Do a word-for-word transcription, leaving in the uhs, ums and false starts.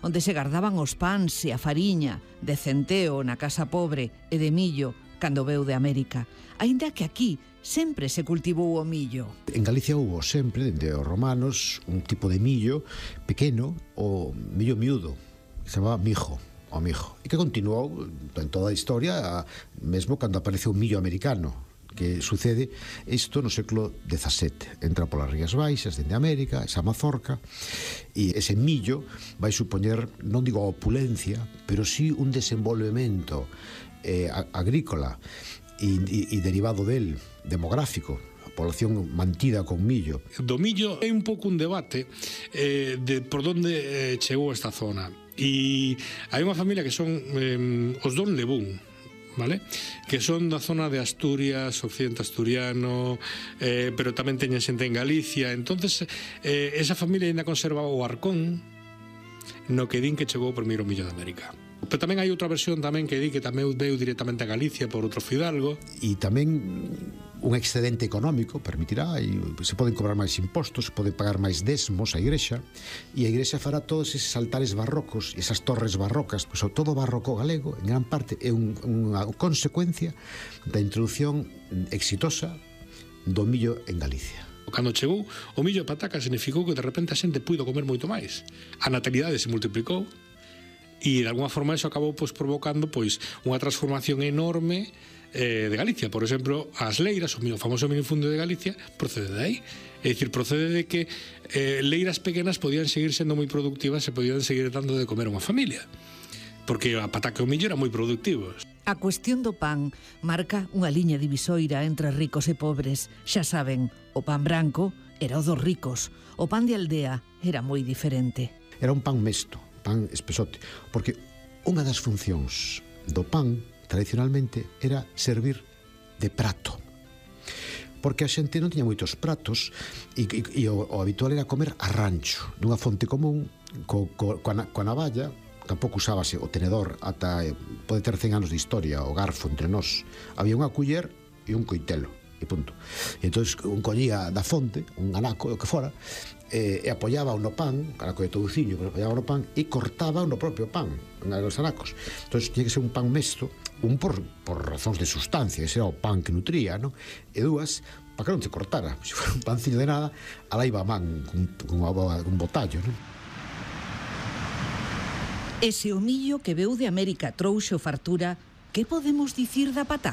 onde se gardaban os pans e a fariña de centeo na casa pobre e de millo cando veu de América, aínda que aquí sempre se cultivou o millo. En Galicia hubo sempre, dende os romanos, un tipo de millo pequeno, o millo miúdo, que se chamaba mijo, o mijo, e que continuou en toda a historia, mesmo cando apareceu o millo americano, que sucede isto no século dezasete. Entra polas Rías Baixas, dende América, esa mazorca, e ese millo vai supoñer, non digo a opulencia, pero sí un desenvolvemento eh, agrícola e, e, e derivado del, demográfico, a población mantida con millo. Do millo é un pouco un debate eh, de por onde eh, chegou esta zona, e hai unha familia que son eh, os Don Lebún, ¿vale? Que son da zona de Asturias, occidente asturiano, eh, pero tamén teñen xente en Galicia. Entonces eh, esa familia ainda conserva o arcón no que din que chegou o primeiro millo de América. Pero tamén hai outra versión tamén que di que tamén veu directamente a Galicia por outro fidalgo. E tamén un excedente económico permitirá, e se poden cobrar máis impostos, se poden pagar máis desmos á igrexa, e a igrexa fará todos eses altares barrocos, esas torres barrocas, pois todo barroco galego, en gran parte, é un, unha consecuencia da introducción exitosa do millo en Galicia. Cando chegou o millo de pataca significou que de repente a xente puido comer moito máis. A natalidade se multiplicou, e de alguma forma eso acabou pois, provocando pois, unha transformación enorme eh, de Galicia. Por exemplo, as leiras, o famoso minifundio de Galicia, procede de aí. É dicir, procede de que eh, leiras pequenas podían seguir sendo moi productivas e podían seguir dando de comer a unha familia, porque a pataca e o millo eran moi productivos. A cuestión do pan marca unha liña divisoira entre ricos e pobres. Xa saben, o pan branco era o dos ricos, o pan de aldea era moi diferente. Era un pan mesto, pan espesote, porque unha das funcións do pan tradicionalmente era servir de prato, porque a xente non tiña moitos pratos e, e, e o, o habitual era comer a rancho, dunha fonte común co, co, coa, coa navalla. Tampouco usábase o tenedor, ata pode ter cen anos de historia, o garfo entre nós. Había unha culler e un coitelo, e punto. E entón un collía da fonte, un anaco, o que fora, e, e apoiaba no pan, anaco de touciño, pero apoiaba no pan e cortaba no propio pan, nos anacos. Entón tiña que ser un pan mesto, un por, por razóns de sustancia, ese era o pan que nutría, non? E dúas, para que non te cortara. Se fora un panciño de nada, alá iba a man, con, con un botallo, non? E se o millo que veu de América trouxo fartura, que podemos dicir da pataca?